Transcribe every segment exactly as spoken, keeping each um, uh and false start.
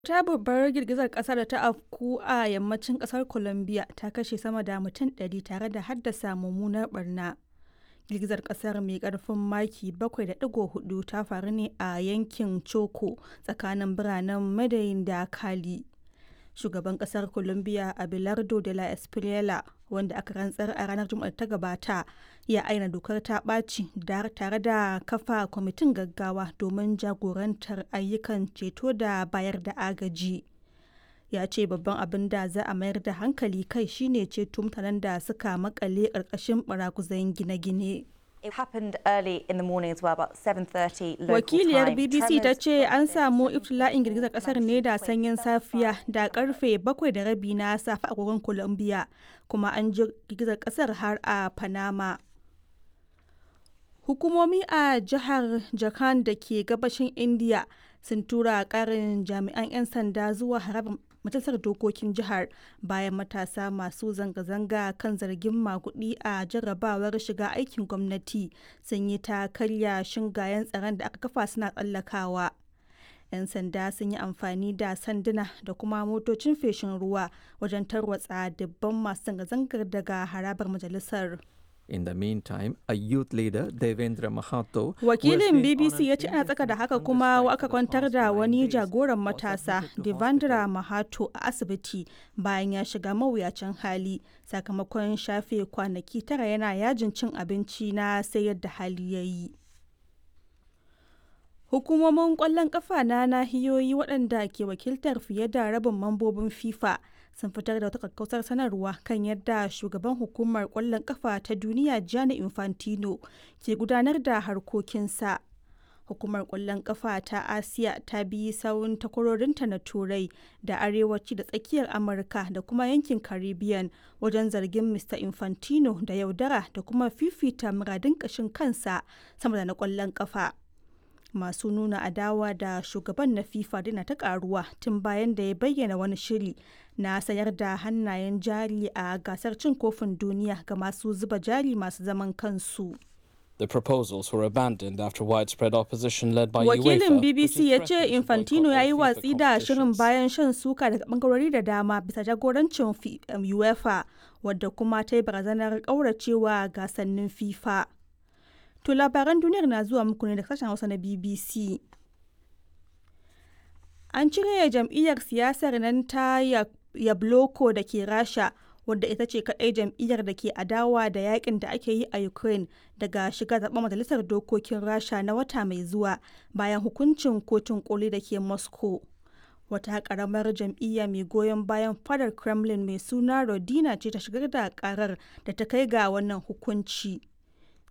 Wata babbar girgizar ƙasa da ta afku a yammacin ƙasar Colombia ta kashe sama da mutum ɗari tare da haddasa mummunar ɓarna. Girgizar ƙasar mai ƙarfin maki bakwai da digo hudu ta faru ne a yankin Choco tsakanin biranen Medellin da Cali. Shugaban ƙasar Colombia Abelardo de la Espriella, wanda aka rantsar a ranar Juma'ar da ta gabata, ya ayyana dokar ta ɓaci tare da kafa kwamitin gaggawa domin jagorantar ayyukan ceto da bayar da agaji. Ya ce babban abin da za a mayar da hankali kai shine ceto mutanen da suka makale ƙarƙashin baraguzan gine-gine. It happened early in the morning as well, about seven thirty local Wakiliyar time. B B C ta Tremors ce an samu iftila'in girgizar kasar ne da sanyin safiya da karfe bakwai da rabi na safe a agogon Colombia, kuma an ji girgizar kasar har a Panama. Hukumomi a jihar Jharkhand da ke gabashin India sun tura karin jami'an 'yan sanda zuwa harabar majalisar dokokin jihar bayan matasa masu zanga-zanga kan zargin maguɗi a jarrabawar shiga aikin gwamnati sun yi ta karya shingayen tsaron da aka kafa suna tsallakawa. 'Yan sanda sun yi amfani da sanduna da kuma motocin feshin ruwa wajen tarwatsa dubban masu zanga-zangar daga harabar majalisar. In the meantime, a youth leader, Devendra Mahato, who has Wakilin been on B B C an ya ce ana tsaka da indefinite haka hunger kuma strike aka for the kwantar past da nine wani days, jagoran was matasa admitted to Devendra hospital. Mahato a asibiti bayan ya shiga mawuyacin hali sakamakon shafe kwanaki tara yana yajin cin abinci na sai yadda hali ya yi. Hukumomin ƙwallon ƙafa na nahiyoyi waɗanda ke wakiltar fiye da rabin mambobin FIFA sun fitar da wata kakkausar sanarwa kan yadda shugaban hukumar ƙwallon ƙafa ta duniya Gianni Infantino ke gudanar da harkokinsa. Hukumar ƙwallon ƙafa ta Asiya ta bi sawun takwarorinta na Turai da Arewaci da Tsakiyar Amurka da kuma yankin Caribbean wajen zargin Mister Infantino da yaudara da kuma fifita muradun ƙashin kansa sama da na ƙwallon ƙafa. Masu nuna adawa da shugaban na FIFA dina ta karuwa tun bayan da ya bayyana wani shiri na sayar da hannayen jari a gasar cin kofin duniya ga masu zuba jari masu zaman kansu. The proposals were abandoned after widespread opposition led by Wakilin UEFA, which B B C has ya ce threatened to Infantino boycott ya yi all FIFA watsi da shirin competitions. bayan shan suka daga bangarori da dama bisa jagorancin Fi- um, UEFA, wadda kuma ta yi barazanar kauracewa gasannin FIFA. To, labaran duniyar na zuwa muku ne da sashen Hausa na B B C. An cire jam'iyyar siyasar nan ta Ya- Yabloko da ke Rasha, wadda ita ce kaɗai jam'iyyar da ke adawa da yakin da ake yi a Ukraine, daga shiga zaɓen majalisar dokokin Rasha na wata mai zuwa bayan hukuncin kotun koli da ke Moscow. Wata ƙaramar jam'iyya mai goyon bayan fadar Kremlin mai suna Rodina ce ta shigar da ƙarar da ta kai ga wannan hukunci.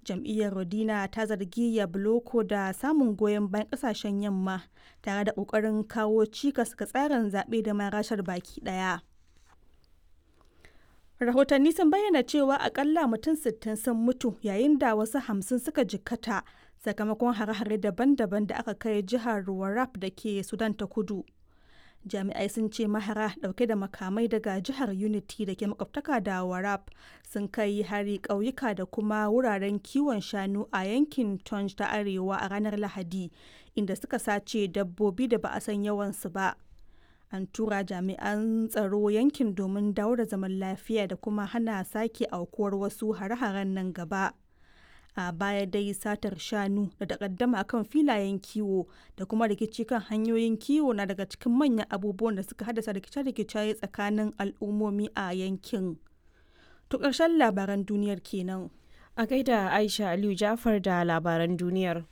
Jam'iyyar Rodina ta zargi Yabloko da samun goyon bayan kasashen yamma tare da kokarin kawo cikas ga tsarin zaɓe da ma Rashar baki ɗaya. Rahotanni sun bayyana cewa akalla mutum sittin sun mutu yayin da wasu hamsin suka jikkata sakamakon hare-hare daban-daban da aka kai jihar Warrap da ke Sudan ta Kudu. Jami'ai sun ce mahara dauke da makamai daga jihar Unity da ke makwabtaka da Warrap sun kai hari ƙauyuka da kuma wuraren kiwon shanu a yankin Tonj ta Arewa a ranar Lahadi, inda suka sace dabbobi da ba a san yawansu ba. An tura jami'an tsaro yankin domin dawo da zaman lafiya da kuma hana sake aukuwar wasu hare-haren nan gaba. A baya dai satar shanu da takaddama kan filayen kiwo da kuma rikici kan hanyoyin kiwo na daga cikin manyan abubuwan da suka haddasa rikice-rikice tsakanin al'ummomi a yankin. To, ƙarshen labaran duniyar kenan. A gaida Aisha Aliyu Jafar da labaran duniyar.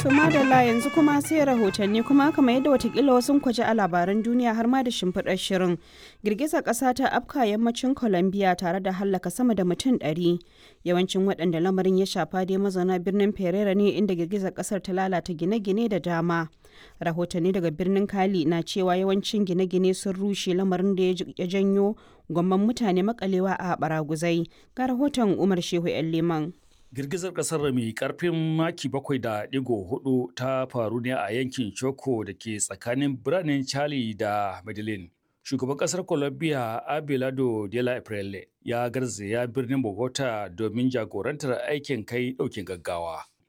To madalla, yanzu kuma sai rahotanni. Kuma kamar yadda watakila wasu kwaje a labaran duniya har ma da shimfiɗar shirin. Girgizar ƙasa ta afka yammacin Colombia tare da hallaka sama da mutum ɗari. Yawancin waɗanda lamarin ya shafa dai mazauna birnin Pereira ne, inda girgizar ƙasar ta lalata gine-gine da dama. Rahotanni daga birnin Cali na cewa yawancin gine-gine sun rushe, lamarin da ya janyo gwamman mutane makalewa a baraguzai. Ga rahoton Umar Shehu 'yan Liman. Girgizar kasar mai karfin maki bakwai da digo hudu ta faru ne a yankin Choco da ke tsakanin biranen Cali da Medellin. Shugaban kasar Colombia Abelardo de la Espriella ya garzaya birnin Bogota domin jagorantar aikin kai daukin gaggawa.